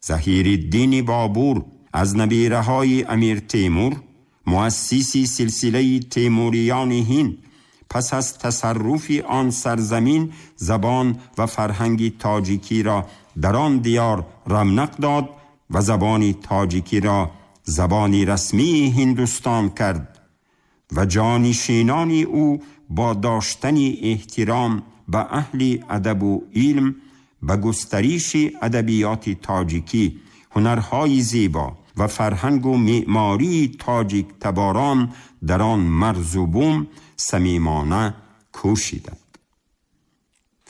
Заҳириддини Бобур аз набираҳои Амир Темур, муассиси силсилаи Темуриёни Ҳинд, пас аз тасарруфи он сарзамин забон ва фарҳанги тоҷикиро дар он диёр равнақ дод ва забони тоҷикиро забони расмии Ҳиндустон кард ва ҷонишинони ӯ бо доштани эҳтиром ба аҳли адабу илм ба густариши адабиёти тоҷикӣ, ҳунарҳои зебо ва фарҳангу меъмории тоҷиктаборон дар он марзу бум самимона кӯшиданд.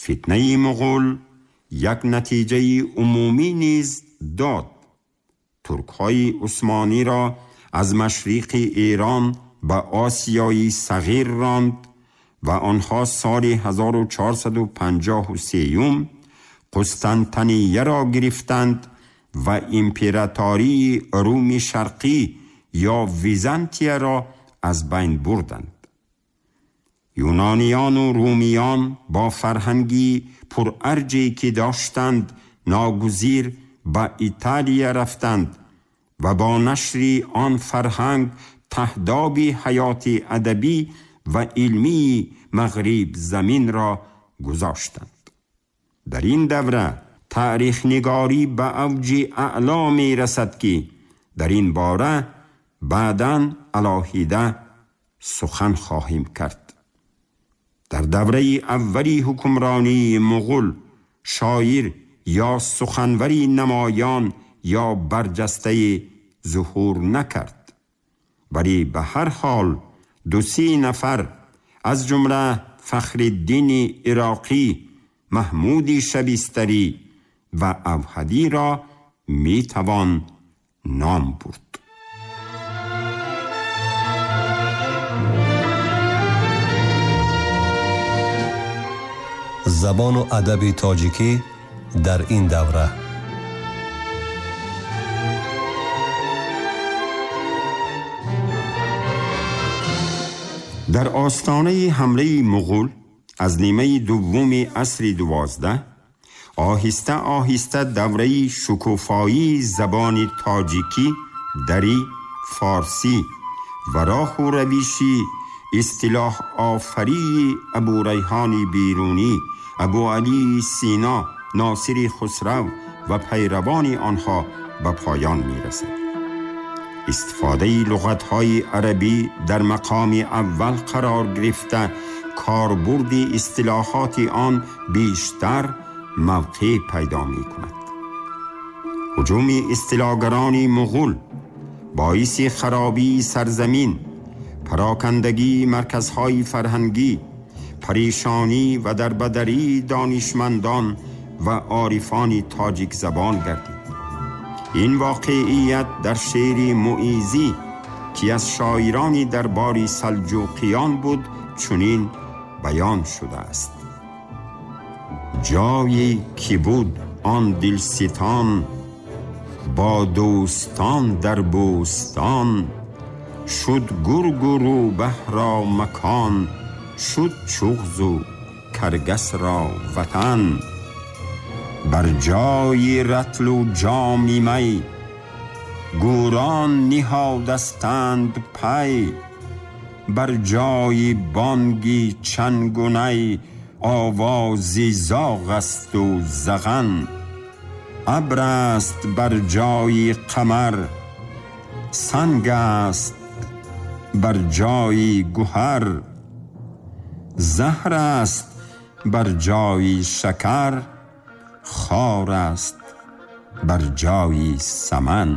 Фитнаи муғул як натиҷаи умумӣ низ дод. Туркҳои усмониро аз машриқи Эрон ба Осиёи Сағир ронд ва онҳо соли 1453 Қустантинияро гирифтанд ва императории Руми Шарқӣ ё Византияро аз байн бурданд. Юнониёну румиён бо фарҳанги пурарҷе ки доштанд ногузир ба Италия рафтанд ва бо нашри он фарҳанг таҳдоби ҳаёти адабӣ ва илмии мағриб заминро гузоштанд. Дар ин давра таърихнигорӣ ба авҷи аъло мерасад ки дар ин бора баъдан алоҳида сухан хоҳем кард. Дар давраи аввали ҳукмронии муғул шоир ё суханвари намоён ё барҷастаи зуҳур накард, вале ба ҳар ҳол ду-се нафар аз ҷумла Фахриддини Ироқӣ, Маҳмуди Шабистарӣ ва Авҳадиро метавон ном бурд. Забону адаби тоҷикӣ дар ин давра. Дар остонаи ҳамлаи муғул аз нимаи дуввуми асри 12 оҳиста оҳиста давраи шукуфоии забони тоҷикӣ, дарӣ, форсӣ ва роҳу равиши истилоҳофарии Абурайҳони Берунӣ, Абуалии Сино, Носири Хусрав ва пайравони онҳо ба поён мерасад. Истифодаи луғатҳои арабӣ дар мақоми аввал қарор гирифта, корбурди истилоҳоти он бештар мавқеъ пайдо мекунад. ҳуҷуми истилогарони муғул боиси харобии сарзамин, парокандагии марказҳои фарҳангӣ, парешонӣ ва дарбадарии донишмандон ва орифони тоҷикзабон гардид. Ин воқеият дар шеъри Муизӣ, ки аз шоирони дарбори Салҷуқиён буд, чунин баён шудааст: ҷое ки буд он дилситон, бо дӯстон дар бӯстон, шуд гургу рӯбаҳро макон, шуд чуғзу каргасро ватан. Бар ҷои ратлу ҷоми май, гӯрон ниҳодастанд пай. Бар ҷои бонги чангу най, овози зоғ асту заған. Абр аст бар ҷои қамар, санг аст бар ҷои гӯҳар. Заҳр аст бар ҷои шакар, хор аст бар ҷои саман.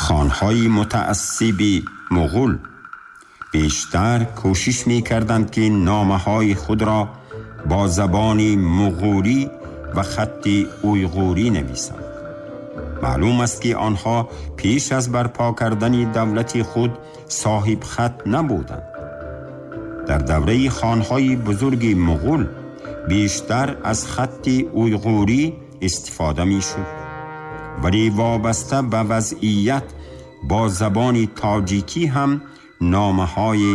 Хонҳои мутаассиби муғул бештар кӯшиш мекарданд, ки номаҳои худро бо забони муғулӣ ва хатти уйғурӣ нависанд. Маълум аст, ки онҳо пеш аз барпо кардани давлати худ соҳиб хат набуданд. Дар давраи хонҳои бузурги муғул бештар аз хатти уйғурӣ истифода мешуд, вале вобаста ба вазъият бо забони тоҷикӣ ҳам номаҳои